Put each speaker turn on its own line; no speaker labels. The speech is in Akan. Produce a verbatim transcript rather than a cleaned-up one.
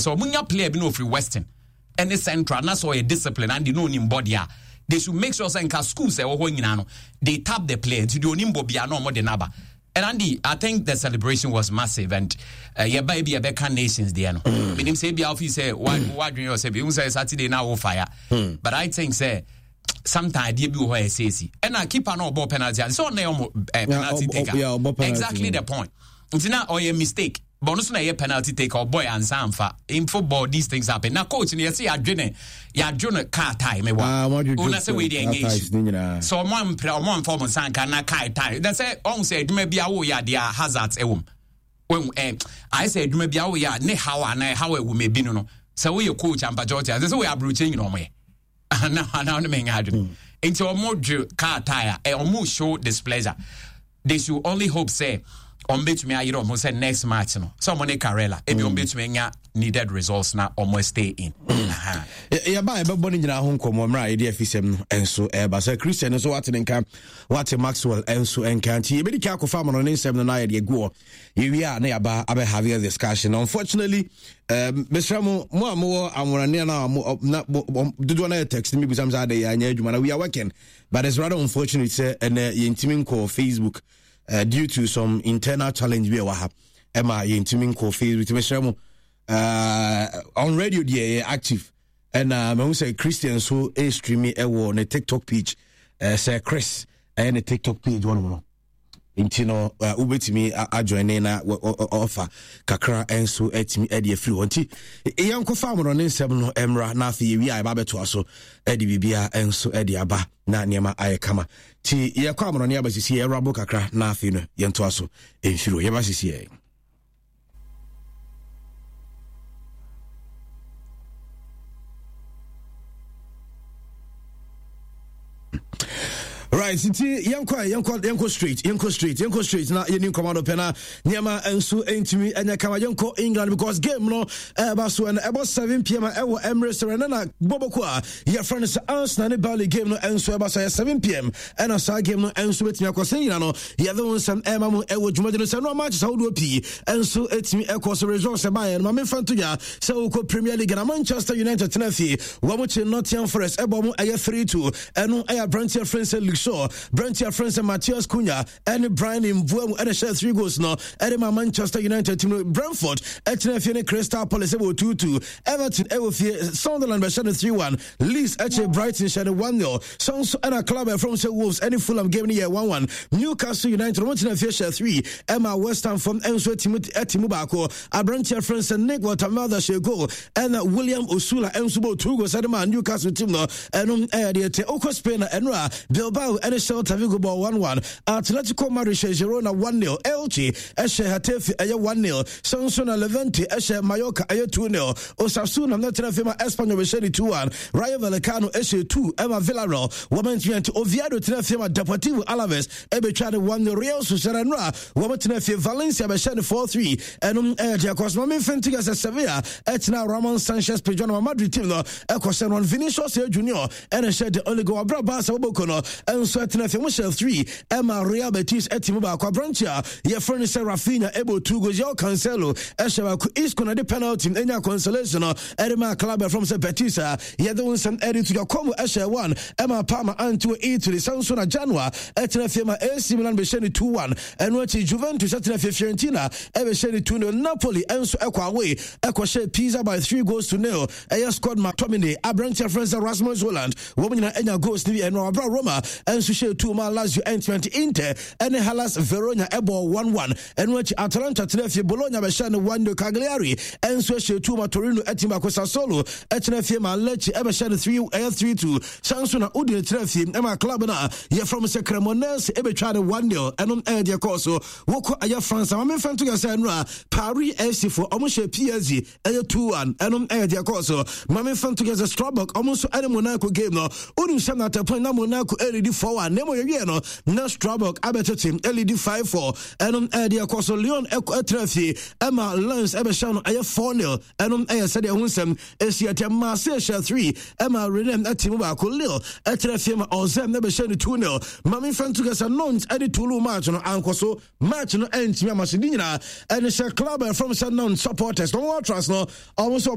Sɛ ɔmo nya player bi na ofiri Western ɛne Central na sɛ ɔyɛ discipline and no onim body a, they should make sure sɛ nka schools ɛwɔ hɔ nyinaa no, they tap the player nti deɛ onim bɔ bia na ɔmo de n'aba. And Andy, I think the celebration was massive and uh, yɛba ebi yɛbɛka nations deɛ no, menim sɛ ebi afi sɛ wadwene yɛ sɛ bi ehu sɛ Saturday na awo fire, but I think sɛ sometimes adeɛ bi wɔ hɔ a ɛsɛ esi ɛna keeper na ɔbɔ penalty ase sɛ ɔna yɛ ɔmo penalty taker, exactly the point. Nti na ɔyɛ mistake, but ɔno nso na ɛyɛ penalty taker, ɔbɔ yɛ ansa anfa. In football these things happen. Na coach no yɛsɛ yɛadwe yɛadwe no car tie me wa ɔna sɛ wei deɛ ɛnyɛ issue sɛ ɔmo ampere, ɔmo amfa ɔmo nsa nka na car tie na sɛ ɔmo sɛ adwuma bi awo yɛ adeɛ a hazards ɛwɔ mu wɔn ɛ ayɛ sɛ adwuma bi awo yɛ a ne haw anaa ɛhaw ɛwɔ mu ebi no no sɛ woyɛ coach ampakyɛ ɔte ase sɛ woyɛ aburokyɛ nyina ɔmo yɛ ana ana ɔno mɛ nya adwene nti ɔmo dwe car tie a ɔmo show displeasure. They should only hope say ɔmo betumi ayerɛ ɔmo sɛ next match no sɛ ɔmo ne Karela ebi ɔmo betumi anya needed results na ɔmo stay in.
Yɛba yɛbɛbɔ no nyinaa ho nkɔmmɔ mmerɛ a yɛde afisɛm no nso ɛba sɛ Christian nso wate ne nka, wate Maxwell nso nka, nti yɛbɛdi ka akɔfa ama no ne nsɛm no na yɛde agu hɔ. Yɛwie a na yɛaba abɛhave a discussion. Unfortunately, um, mesrɛ mo, mo a mowɔ amoranea no a dodoɔ no yɛ text no mebisam sɛ adɛ yɛanyɛ adwuma na we are working, but it's rather unfortunate sɛ ɛnɛ yɛntumi nkɔ Facebook uh, due to some internal challenge bi a ɛwɔ ha ɛma yɛntumi nkɔ Facebook. Nti mesrɛ mo, uh, on radio deɛ yɛ active, ɛna mahu sɛ Christian so ɛstreami ɛwɔ ne TikTok page, uh, sɛ Chris ɛyɛ ne TikTok page wɔnom no, nti no uh, wobɛtumi ajoine na ɔfa kakra nso atumi de afiri hɔ. Nti yɛnkɔfa amono ne nsɛm no mmra na afei yɛwie a yɛba bɛtoa so de biribia nso de aba na nneɛma ayɛ kama. Nti yɛkɔ amono ne aba sisi yɛwurabo kakra na afei no yɛntoa so mfiri hɔ. Yɛba sisi yɛ. Right, nti yɛnkɔ yɛnkɔ yɛnkɔ straight, yɛnkɔ straight, yɛnkɔ straight na yɛni nkɔmɔ no pɛ na nneɛma nso ntumi ɛnyɛ kama. Yɛnkɔ England because game no ɛba so ɛno ɛbɔ seven p m ɛwɔ Emirates Arena na bɔbɔko a yɛfrɛ no sɛ Arsenal ne Burnley game no nso ɛba so ɛyɛ seven p m ɛna saa game no nso bɛtumi akɔ sɛ nyina no yɛde wo nsɛm ɛma mu ɛwɔ dwumadi no sɛ no matches ahodoɔ pii nso ɛtumi ɛkɔ so. Results ɛbaeɛ no ma memfa nto dwa sɛ wokɔ Premier League na Manchester United tena fie, wɔn kye Nottingham Forest ɛbɔ mo ɛyɛ three two. Ɛno ɛyɛ aberanteɛ frɛ sɛ Luke Shaw, aberanteɛ frɛ sɛ Matheus Cunha ɛne Bryan Mbeumo ɛna hyɛ three goals no ɛde ma Manchester United team no. Brentford ɛtena fie ne Crystal Palace ɛwɔ two two. Everton ɛwɔ fie, Sunderland bɛhyɛ no three one. Leeds ɛkyɛ Brighton hyɛ no one zero. So nso ɛna club ɛfrɛ sɛ Wolves ɛne Fulham game no yɛ one one. Newcastle United wɔn tena fie hyɛ three ɛma West Ham fam ɛnso ɛtimu ɛtimu baako. Aberanteɛ frɛ sɛ Nick Woltemade hyɛ goal ɛna William Osula ɛnso bɔ two goals ɛde ma Newcastle team no. Ɛno ɛyɛ deɛ te okɔ Spain na ɛno a Bilbao ɛne Celta Vigo bɔ one one. Atletico Madrid hyɛ Girona one zero. Elche ɛhyɛ Getafe ɛyɛ one zero. So nso na Levante ɛhyɛ Mallorca ɛyɛ two zero. Osasuna na tena fie ma Espanyol bɛhyɛ ne two one. Rayo Vallecano ɛhyɛ two ɛma Villarreal wɔn ntumi nti. Oviedo tena fie ma Deportivo Alaves ɛbɛtwa ne one zero. Real Sociedad no a wɔn tena fie, Valencia bɛhyɛ ne four three. Ɛnom ɛyɛ deɛ kɔ so. Ma memfa nti sɛ Sevilla ɛtena Ramon Sanchez Pizjuan ma Madrid team no ɛkɔ sɛ no Vinicius Junior ɛna hyɛ the only goal. Abra Barca wɔbɔkɔ no ɛnso ɛtena fie mo hyɛ three ɛma Real Betis ɛte mu baako. Aberante a yɛfrɛ no sɛ Raphinha ɛbɔ two goals, Joao Cancelo ɛhyɛ baako, Isco na de penalty ɛnya consolation no ɛde ma club ɛfrɔm sɛ Betis a yɛde wo nsɛm ɛde to dwa. Como ɛhyɛ one ɛma Parma ante wɔ Italy. Sɛ nso na Genoa ɛtena fie ma A C Milan bɛhyɛ ne two one. Ɛno akyi Juventus ɛtena fie, Fiorentina ɛbɛhyɛ ne two zero. Napoli ɛnso ɛkɔ away ɛkɔhyɛ Pisa by three goals to nil. Ɛyɛ Scott McTominay, aberanteɛ frɛ sɛ Rasmus Hojlund, wɔn nyinaa anya goals no bi. Ɛno abra Roma ɛnso hyɛ two ma Lazio ɛntumi. Inter ɛne Hellas Verona ɛbɔ one one. Ɛno akyi Atalanta tena fie, Bologna bɛhyɛ no one zero. Cagliari ɛnso hyɛ two ma Torino ɛtim baako. Sassuolo ɛtena fie ma Lecce ɛbɛhyɛ no three, ɛyɛ three two. San so na Udine tena fie ɛma club no a yɛfrɛ mo sɛ Cremonese ɛbɛtwa no one zero. Ɛno ɛyɛ deɛ kɔɔ so. Wokɔ ɛyɛ France ama memfa nto yɛ sɛ ɛno a Paris F C foɔ ɔmo hyɛ P S G ɛyɛ two one. Ɛno ɛyɛ deɛ kɔɔ so. Ma memfa nto yɛ sɛ Strasbourg ɔmo nso ɛne Monaco game no, wonim sɛ na at point na Monaco ɛlead four one, na mmom yɛwie no na Strasbourg abɛtete ɛlead five four. Ɛno ɛyɛ deɛ kɔɔ so. Lyon ɛtena fie ɛma Lens ɛbɛhyɛ no ɛyɛ four zero. Ɛno ɛyɛ sɛdeɛ ho nsɛm ɛsi ɛtɛ. Marseille hyɛ three ɛma Rennes ɛte mu baako. Lille ɛtena fie ma Auxerre ɛbɛhyɛ no two zero. Ma memfa nto kɛ sɛ Nantes ɛne Toulouse match no ankɔ so, match no ɛntumi ama so de nyinaa ɛne sɛ club ɛfrɔm sɛ Nantes supporters na wɔn atras no ɔmo nso